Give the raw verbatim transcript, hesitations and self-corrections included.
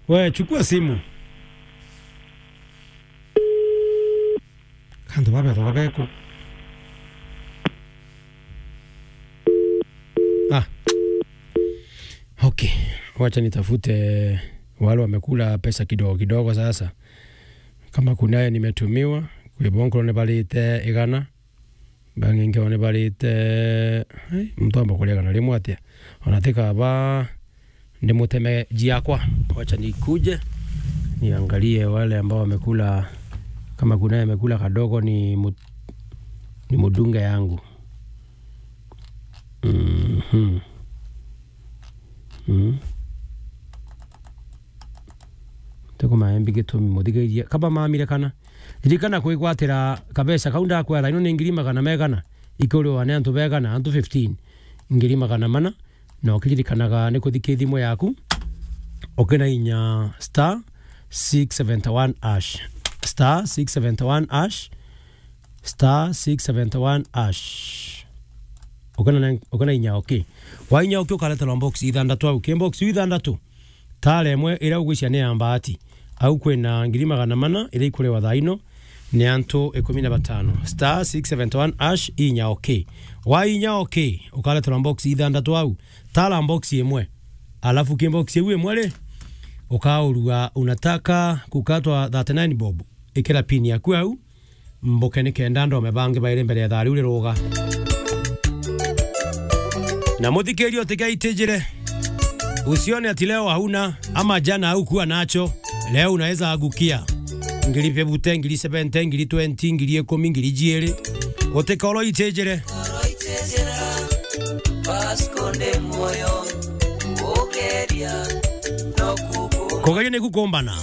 We, chukua simu. Kantu babethaga beku. Ah. Okay. Wacha nitafute wale wamekula pesa kidogo kidogo sasa. Kama kunaye nimetumiwa, kwi bonkoro ni barite igana. Bangi nkio ni barite, ai, muntu amba kuria igana rimwe atia? Ona tika ba ndimuteme jiakwa. Wacha nikuje niangalie wale ambao wamekula, kama kuna amekula kadogo ni mu-, ni mudunge yangu. Mhm. Mm. Tiko maembi gitumi muthigiria. Kaba mamire kana. Ririkana kwigwatira kabeca kau ndakwera ino ni ngiri magana megana. Ikuriwa ni antu begana, antu fifteen. Ngiri magana mana. Na ukiririkanaga ni kuthika thimu yaku. Ukina inya star six seventy one hash. Star six seventy one hash. Star six seventy one hash. Ukana na, ukana inya okay. Wa inya okay ukareterwa box ithandatu au. Ki box iu ithandatu? Tara imwe iria ugwicia ni ya mbaati. Au kwina ngiri magana mana iria ikuriwa thaa ino ni antu ikumi na batano. Star six seventy one hash inya okay. Wa inya okay ukareterwa box ithandatu au. Tara box imwe. Alafu ki box iu imwe ri, ukaurua unataka kukatwa thirty nine bob. Ikira pin yaku au. Mbuke ni kenda ndome bangi bairi mbere ya thaa riu riruga. Na muthikiria utigaitijire. Usione ati leo hauna ama jana haukuwa nacho. Leo unaweza angukia. Ngiri fifty, ngiri seventy, ngiri twenty, ngiri ikumi, ngiri jiiri. Utikoro itijire. Kugeria ni kukumbana.